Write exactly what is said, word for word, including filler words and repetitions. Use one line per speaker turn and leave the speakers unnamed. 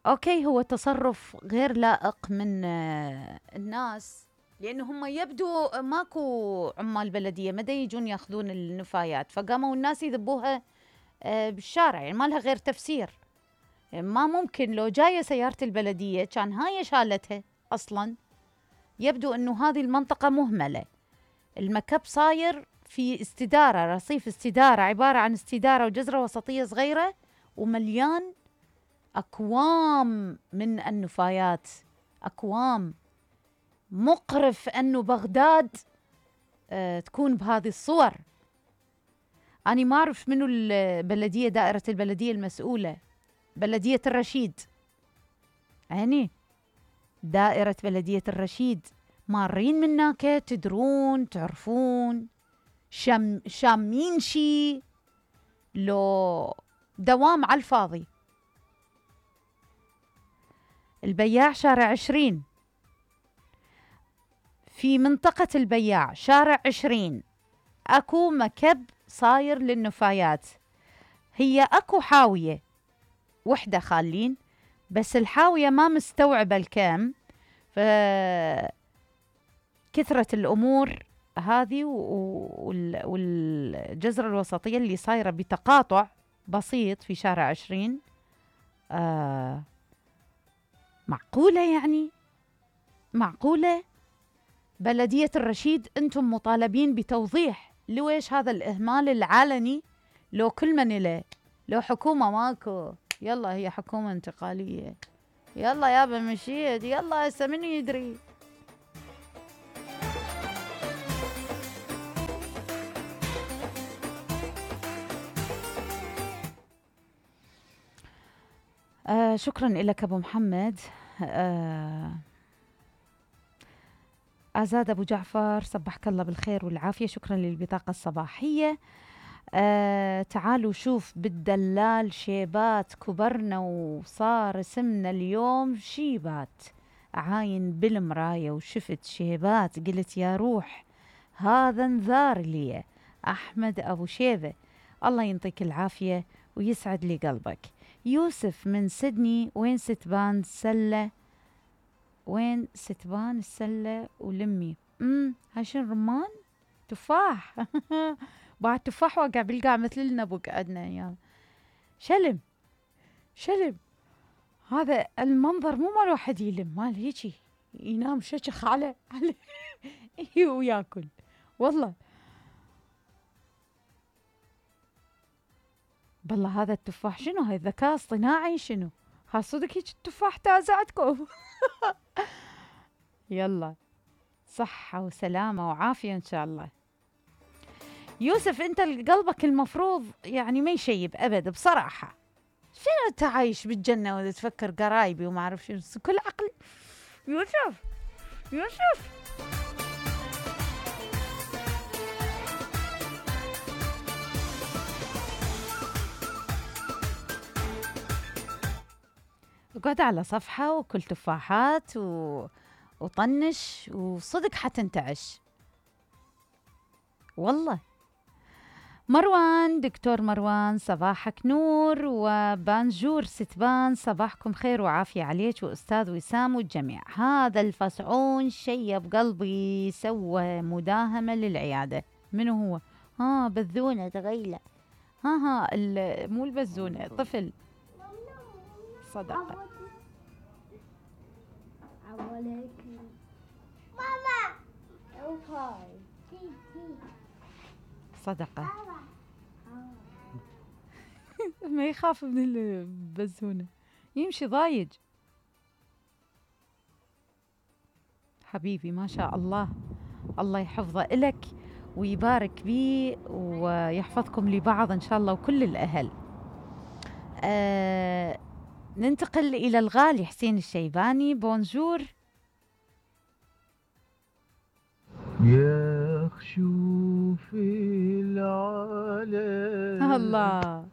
اوكي، هو تصرف غير لائق من الناس، لانه هم يبدو ماكو عمال بلديه ما دا يجون ياخذون النفايات، فقاموا الناس يذبوها بالشارع، يعني ما لها غير تفسير. ما ممكن لو جايه سياره البلديه كان هاي شالتها اصلا. يبدو انه هذه المنطقه مهمله، المكب صاير في استداره، رصيف استداره، عباره عن استداره وجزره وسطيه صغيره ومليان أكوام من النفايات، أكوام. مقرف أنه بغداد أه تكون بهذه الصور. أنا ما أعرف منو البلدية، دائرة البلدية المسؤولة، بلدية الرشيد، يعني دائرة بلدية الرشيد مارين منك تدرون تعرفون شام شامين شي لو دوام على الفاضي. البياع شارع عشرين، في منطقة البياع شارع عشرين أكو مكب صاير للنفايات. هي أكو حاوية وحدة خالين، بس الحاوية ما مستوعبة الكم، فكثرة الأمور هذه والجزرة الوسطية اللي صايرة بتقاطع بسيط في شارع عشرين. آه معقولة يعني؟ معقولة؟ بلدية الرشيد أنتم مطالبين بتوضيح لويش هذا الإهمال العلني. لو كل من إليه، لو حكومة ماكو، يلا هي حكومة انتقالية، يلا يابا مشيت، يلا هسه منو يدري. آه شكرا لك أبو محمد. آه آزاد أبو جعفر، صبحك الله بالخير والعافية، شكرا للبطاقة الصباحية. آه تعالوا شوف بالدلال شيبات كبرنا وصار اسمنا اليوم شيبات. عاين بالمراية وشفت شيبات قلت يا روح هذا انذار لي. أحمد أبو شيبة، الله ينطيك العافية ويسعد لي قلبك. يوسف من سيدني، وين ستبان سلة، وين ستبان السلة ولمي. امم هاي شنو، رمان؟ تفاح. بعد تفاح وقع بالقاع مثل النبق عندنا ايام. شلم شلم، هذا المنظر مو مال واحد يلم، مال هيجي ينام ششخ على على وياكل والله. بالله هذا التفاح شنو، هاي ذكاء اصطناعي شنو؟ ها صدق هيك التفاح تازعتكم. يلا صحة وسلامة وعافية إن شاء الله. يوسف أنت قلبك المفروض يعني ما يشيب أبد بصراحة. شنو أنت عايش بالجنة وتفكر قرايبي وما أعرف شنو كل عقل. يوسف يوسف اقعد على صفحة وكل تفاحات و... وطنش وصدق حتنتعش والله. مروان، دكتور مروان، صباحك نور. وبانجور ستبان، صباحكم خير وعافية عليك وأستاذ وسام والجميع. هذا الفصعون شيب قلبي، سوى مداهمة للعيادة. منو هو؟ ها بذونة تغيلة. ها ها مو البزونة، طفل صدقة. صدقة. ما يخاف من البزونة، يمشي ضايج. حبيبي ما شاء الله، الله يحفظه إلك ويبارك بيه ويحفظكم لبعض إن شاء الله وكل الأهل. آه ننتقل إلى الغالي حسين الشيباني. بونجور.
يا خشوف العالم
الله